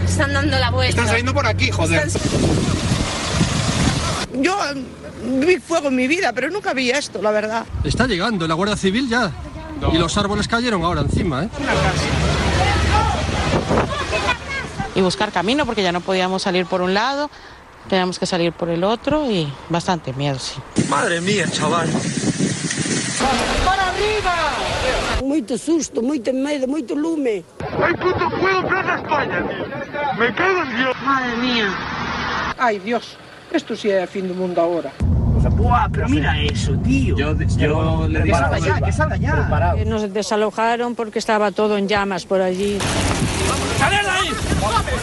Están dando la vuelta. Están saliendo por aquí, joder. Yo vi fuego en mi vida, pero nunca vi esto, la verdad. Está llegando la Guardia Civil ya. No. Y los árboles cayeron ahora encima, ¿eh? Y buscar camino porque ya no podíamos salir por un lado, teníamos que salir por el otro y bastante miedo, sí. Madre mía, chaval. ¡Para arriba! Moito susto, moito medo, moito lume. ¡Ay, puto fuego en Plaza España! ¡Me cago en Dios! Madre mía. Ay, Dios, esto sí es el fin del mundo ahora. ¡Buah, pero mira eso, tío! Yo le dije que salga ya. Nos desalojaron porque estaba todo en llamas por allí. ¡Saled aí!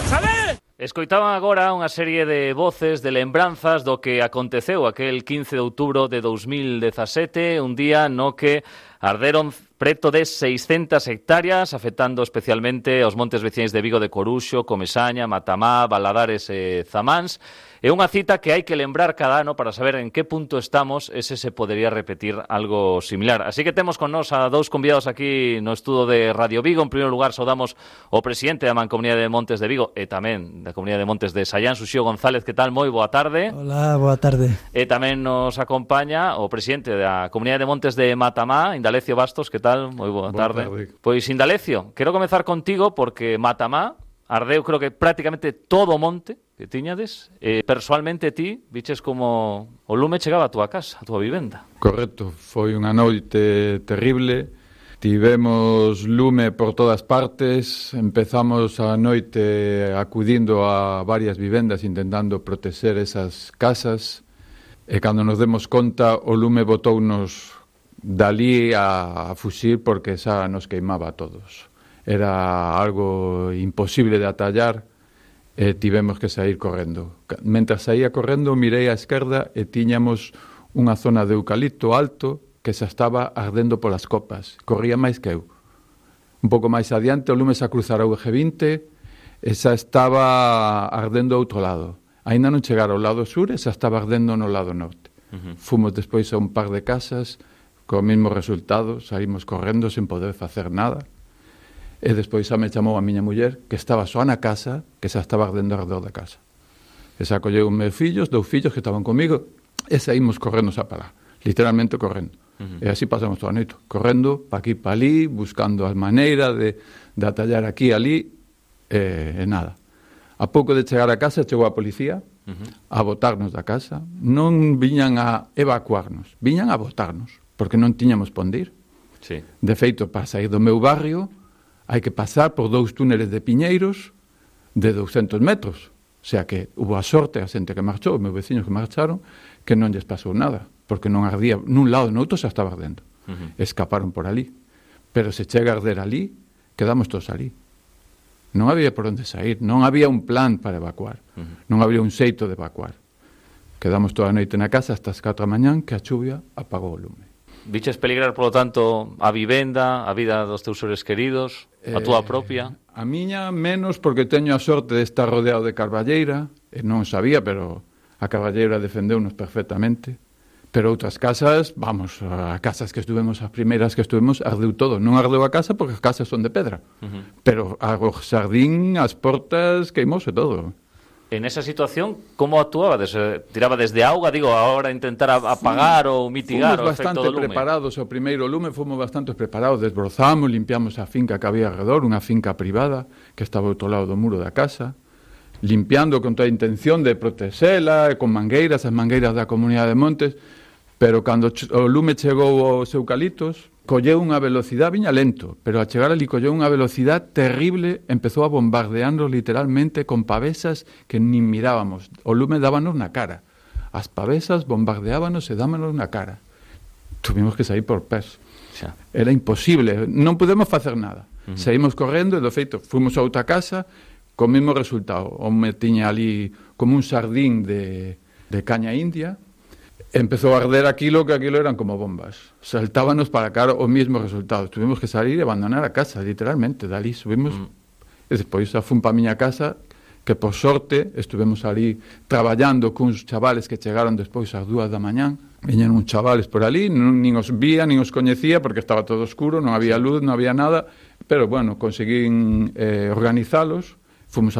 ¡Saled! Escoitaban agora unha serie de voces, de lembranzas do que aconteceu aquel 15 de outubro de 2017, un día no que arderon preto de 600 hectáreas, afectando especialmente aos montes veciñais de Vigo de Coruxo, Comesaña, Matamá, Valadares e Zamáns. É unha cita que hai que lembrar cada ano para saber en que punto estamos e se podería repetir algo similar. Así que temos con nós a dous convidados aquí no estudo de Radio Vigo. En primeiro lugar, saudamos o presidente da Mancomunidade de Montes de Vigo e tamén da Comunidade de Montes de Sallán, Suxío González. Que tal? Moi boa tarde. Hola, boa tarde. E tamén nos acompaña o presidente da Comunidade de Montes de Matamá, Indalecio Bastos. Que tal? Moi boa tarde. Pois, Indalecio, quero comezar contigo porque Matamá ardeu, creo que prácticamente todo o monte que tiñades. Persoalmente ti viches como o lume chegaba a túa casa, a túa vivenda. Correcto, foi unha noite terrible. Tivemos lume por todas partes. Empezamos a noite acudindo a varias vivendas intentando protexer esas casas. E cando nos demos conta, o lume botounos dalí a fuxir porque xa nos queimaba a todos. Era algo imposible de atallar e tivemos que sair correndo. Mentras saía correndo, mirei á esquerda e tiñamos unha zona de eucalipto alto que xa estaba ardendo polas copas. Corría máis que eu. Un pouco máis adiante, o lume xa cruzara o eje 20 e xa estaba ardendo ao outro lado. Ainda non chegara ao lado sur e xa estaba ardendo no lado norte. Fomos despois a un par de casas co mesmo resultado, saímos correndo sen poder facer nada. E despois xa me chamou a miña muller, que estaba só na casa, que xa estaba ardendo alrededor da casa. E xa colleu os meus fillos, 2 fillos que estaban comigo, e saímos correndo xa para lá, literalmente correndo. E así pasamos toda a noite, correndo pa aquí, pa ali, buscando as maneiras de atallar aquí e ali, e nada. A pouco de chegar a casa, chegou a policía a botarnos da casa. Non viñan a evacuarnos, viñan a botarnos, porque non tiñamos ponde ir. Sí. De feito, para sair do meu barrio, hai que pasar por 2 túneles de piñeiros de 200 metros. O sea que hubo a sorte a xente que marchou, os meus veciños que marcharon, que non lles pasou nada, porque non ardía nun lado e no outro xa estaba ardendo. Escaparon por ali. Pero se chega a arder ali, quedamos todos ali. Non había por onde sair, non había un plan para evacuar, non había un xeito de evacuar. Quedamos toda a noite na casa hasta as 4 da mañán que a chuvia apagou o lume. Viches peligrar, polo tanto, a vivenda, a vida dos teus seres queridos, a túa propia? A miña menos, porque teño a sorte de estar rodeado de carballeira, e non sabía, pero a carballeira defendeunos perfectamente. Pero outras casas, vamos, a casas que estuvemos, as primeiras que estuvemos, ardeu todo. Non ardeu a casa porque as casas son de pedra. Pero o xardín, as portas, queimouse todo. En esa situación, como actuabades? Tiraba desde auga, digo, ahora intentar apagar ou mitigar o efecto do lume? Fomos bastante preparados, o primeiro lume fomos bastante preparados, desbrozamos, limpiamos a finca que había alrededor, unha finca privada que estaba ao outro lado do muro da casa, limpiando con toda a intención de protexela, con mangueiras, as mangueiras da Comunidade de Montes, pero cando o lume chegou aos eucaliptos, colleu unha velocidade, viña lento, pero a chegar ali colleu unha velocidade terrible, empezou a bombardearnos literalmente con pavesas que nin mirábamos. O lume dábanos na cara. As pavesas bombardeábanos e dábanos na cara. Tuvimos que sair por pés. Xa. Era imposible, non podemos facer nada. Saímos correndo e, do feito, fomos a outra casa co mesmo resultado. O me tiña ali como un sardín de caña india. Empezou a arder aquilo, que aquilo eran como bombas. Saltábanos para cara o mismo resultado. Tuvimos que salir e abandonar a casa, literalmente. Dali subimos e despois xa fun pa miña casa, que por sorte estuvemos ali traballando cuns chavales que chegaron despois ás 2 da mañán. Viñan uns chavales por ali, nin os vía, nin os coñecía, porque estaba todo oscuro, non había luz, non había nada, pero bueno, conseguín organizalos. Fomos a